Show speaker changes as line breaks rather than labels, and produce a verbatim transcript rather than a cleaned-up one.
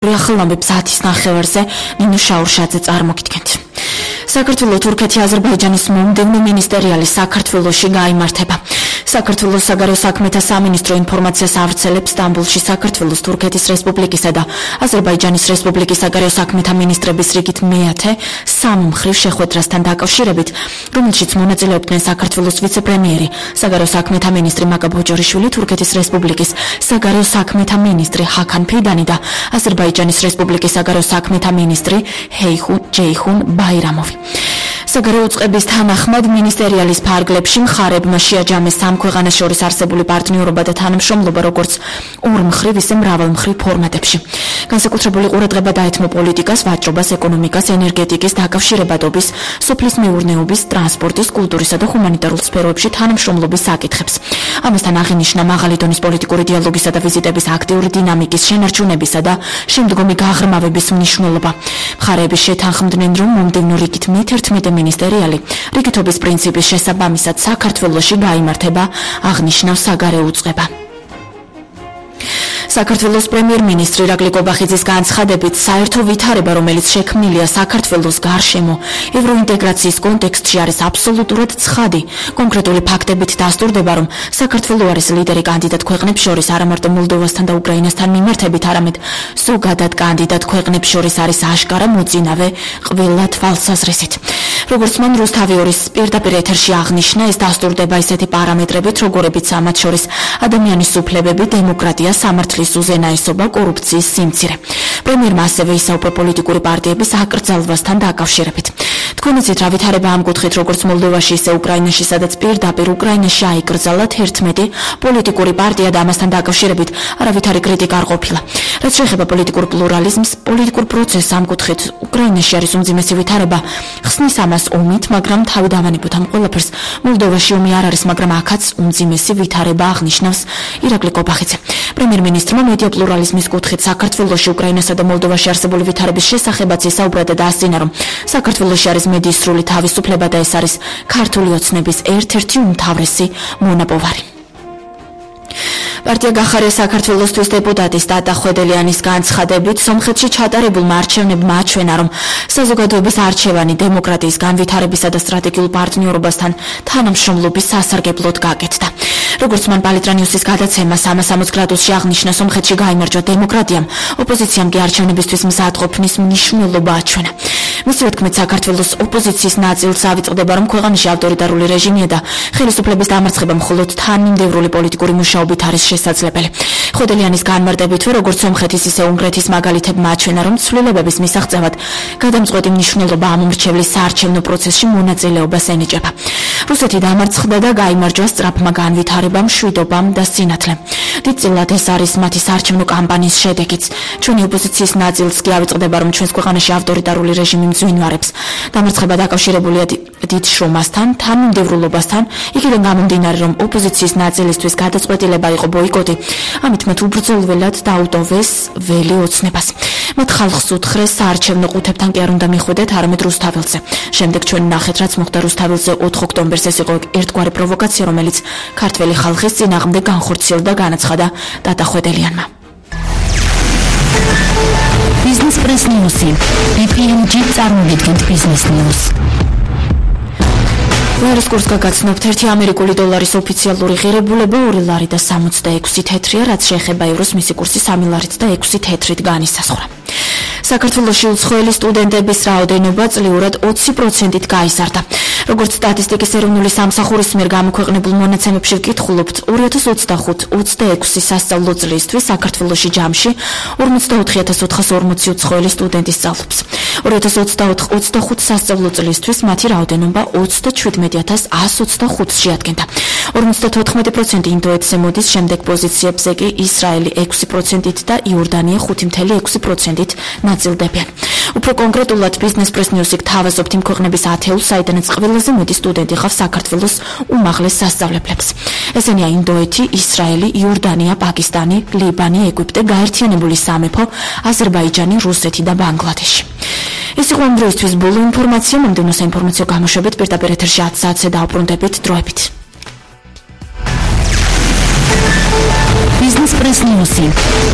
ახალამებს ათის ნახევარზე ნინო შაურშაძე წარმოგიდგენთ. საქართველოს თურქეთი აზერბაიჯანის მომდევნო მინისტერიალი საქართველოში გაიმართება. საქართველოს საგარეო საქმეთა სამინისტრო ინფორმაციას ავრცელებს სტამბოლში საქართველოს თურქეთის რესპუბლიკისა და აზერბაიჯანის რესპუბლიკის საგარეო საქმეთა მინისტრების რიგით მეათე სამმხრივ შეხვედრასთან დაკავშირებით, რომელშიც მონაწილეობდნენ საქართველოს ვიცე-პრემიერი, საგარეო საქმეთა მინისტრი მაკა ბოჭორიშვილი, თურქეთის რესპუბლიკის საგარეო საქმეთა მინისტრი ჰაკან ფიდანი და აზერბაიჯანის რესპუბლიკის საგარეო საქმეთა მინისტრი ჰეიხუნ ჯეიხუნ ბაირამოვი. საგარეო უწყების თანახმად მინისტერიალის ფარგლებში მხარებმა შეაჯამეს სამ ქვეყანას შორის არსებული პარტნიორობა და თანამშრომლობა როგორც ორმხრივ, ისე მრავალმხრივ ფორმატებში. განსაკუთრებული ყურადღება დაეთმო პოლიტიკას, ვაჭრობას, ეკონომიკას, ენერგეტიკის, დაკავშირებადობის, სოფლის მეურნეობის, ტრანსპორტის, კულტურისა და ჰუმანიტარულ სფეროებში თანამშრომლობის საკითხებს. ამასთან აღინიშნა მაღალი დონის პოლიტიკური დიალოგისა და ვიზიტების აქტიური დინამიკის შენარჩუნებისა და შემდგომი გაღრმავების მნიშვნელობა. მხარეები შეთანხმდნენ, რომ მომდევნო რიგით მეთერთმეტე მინისტერიალი რიგითობის პრინციპის შესაბამისად საქართველოში გაიმართება, აღნიშნავს საგარეო უწყება. საქართველოს პრემიერ-მინისტრი ირაკლი კობახიძის განცხადებით, საერთო ვითარება, რომელიც შექმნილია საქართველოს გარშემო ევროინტეგრაციის კონტექსტში, არის აბსოლუტურად ცხადი. კონკრეტული ფაქტებით დასტურდება, რომ საქართველო არის ლიდერი კანდიდატ ქვეყნებს შორის არა მარტო მოლდოვასთან და უკრაინასთან მიმართებით, არამედ ზოგადად კანდიდატ ქვეყნებს შორის არის აშკარა მოწინავე ყველა თვალსაზრისით. როგორც მან რუსთავი ორის პირდაპირ ეთერში აღნიშნა, ეს დასტურდება ისეთი პარამეტრებით, როგორებიც ამათ შორის ადამიანის უფლებები, დემოკრატია, სამართლის უზენაესობა, კორუფციის სიმცირე. პრემიერმა ასევე ისაუბრა პოლიტიკური პარტიების აკრძალვასთან დაკავშირებით. თქვენ იცით რა ვითარება ამ კუთხით, როგორც მოლდოვაში, ისე უკრაინაში, სადაც პირდაპირ უკრაინაში აიკრძალა თერთმეტი პოლიტიკური პარტია და ამასთან დაკავშირებით არავითარი კრიტიკა არ ყოფილა. რაც შეეხება პოლიტიკურ პლურალიზმს, პოლიტიკურ პროცესს ამ კუთხით უკრაინაში არის უმძიმესი ვითარება. ხსნის ამას ომით, მაგრამ თავი დავანებოთ ამ ყველაფერს. მოლდოვაში ომი არ არის, მაგრამ აქაც უმძიმესი ვითარება, აღნიშნავს ირაკლი კობახიძე. პრემიერ-მინისტრმა მედია პლურალიზმის კუთხით საქართველოში, უკრაინასა და მოლდოვაში არსებული ვითარების შესახებაც ისაუბრა და დაასწინა, რომ საქართველოში არის მედიის სრული თავისუფლება და ეს არის ქართული ოცნების ერთ-ერთი უმთავრესი მონაპოვარი. პარტია გახარია საქართველოსთვის დეპუტატის ტატა ხვედელიანის განცხადებით, სომხეთში ჩატარებულმა არჩევნებმა აჩვენა, რომ საზოგადოების არჩევანი დემოკრატიის განვითარებისა და სტრატეგიულ პარტნიორობასთან თანამშრომლობის სასარგებლოდ გაკეთდა. როგორც მან პალიტრანიუსის გადაცემა სამას სამოცდაოთხ გრადუსში აღნიშნა, სომხეთში გაიმარჯვა დემოკრატიამ, ოპოზიციამ კი არჩევნებისთვის მზადყოფნის მნიშვნელობა აჩვენა. მისივე თქმით, საქართველოს ოპოზიციის ნაწილს ავიწყდება, რომ ქვეყანაში ავტორიტარული რეჟიმია და ხელისუფლების დამარცხება მხოლოდ თანმიმდევრული პოლიტიკური მუშაობით არის შესაძლებელი. ხვედელიანის განმარტებითვე, როგორც სომხეთის, ისე უნგრეთის მაგალითებმა აჩვენა, რომ ცვლილებების მისაღწევად გადამწყვეტი მნიშვნელობა ამ უმრჩევლის საარჩევნო პროცესში მონაწილეობას ენიჭება. რუსეთი დამარცხდა და გაიმარჯვა სწრაფმა განვითარებამ, მშვიდობამ და სინათლემ. დიდწილად ეს არის მათი საარჩევნო კამპანიის შედეგიც. ჩვენი ოპოზიციის ნაწილს კი ავიწყდება, რომ ჩვენს ქვეყანაში ავტორიტარული რეჟიმი მძვინვარებს. დამარცხება დაკავშირებულია დიდ შრომასთან, თანმიმდევრულობასთან, იქიდან გამომდინარე, რომ ოპოზიციის ნაწილისთვის გადაწყვეტილება იყო ბოიკოტი, ამით მათ უბრძოლველად დაუტოვეს ველი ოცნებას. მათ ხალხს უთხრეს საარჩევნო ყუთებთან კი არ უნდა მიხვიდეთ, არამედ რუსთაველზე. შემდეგ ჩვენ ნახეთ, რაც მოხდა რუსთაველზე ოთხ ოქტომბერს. ეს იყო ერთგვარი პროვოკაცია, რომელიც ქართველი ხალხის წინააღმდეგ განხორციელდა, განაცხადა ტატა ხვედელიანმა.
Business Press News. ბი პი ემ ჯი წარმოგიდგენთ Business News.
ლარის კურსს გაგაცნობთ, ერთი ამერიკული დოლარის ოფიციალური ღირებულება ორი ლარი და სამოცდაექვსი თეთრია, რაც შეეხება ევროს მისი კურსი სამი ლარით და ექვსი თეთრით განისაზღვრა. საქართველოში უცხოელი სტუდენტების რაოდენობა წლიურად ოცი პროცენტით გაიზარდა. როგორც სტატისტიკის ეროვნული სამსახურის მიერ გამოქვეყნებულ მონაცემებში ვკითხულობთ, ორი ათას ოცდახუთ ოცდაექვსი სასწავლო წლისთვის საქართველოში ჯამში ორმოცდაოთხი ათას ოთხას ორმოცი უცხოელი სტუდენტი სწავლობს. ორი ათას ოცდაოთხ ოცდახუთ სასწავლო წლისთვის მათი რაოდენობა ოცდაჩვიდმეტი ათას ასს ოცდახუთს შეადგენდა. ორმოცდათოთხმეტი პროცენტი ინდოეთზე მოდის, შემდეგ პოზიციებზე კი ისრაელი ექვსი პროცენტით და იორდანია ხუთი წამლ ექვსი პროცენტით ნაწილდებიან. უფრო კონკრეტულად, Business Press News-ი გთავაზობთ იმ ქვეყნების ათეულს, საიდანაც ყველაზე მეტი სტუდენტი ხავს საქართველოს უმაღლეს სასწავლებლებს. ესენია ინდოეთი, ისრაელი, იორდანია, პაკისტანი, ლიბანი, ეგვიპტე, გაერთიანებული სამეფო, აზერბაიჯანი, რუსეთი და ბანგლადეში. ეს იყო ამ დროისთვის ბოლო ინფორმაცია. მომდევნო საინფორმაციო გამოშვებით პირდაპირ ეთერში ათს საათზე დავბრუნდებით. დროებით.
Business Press News.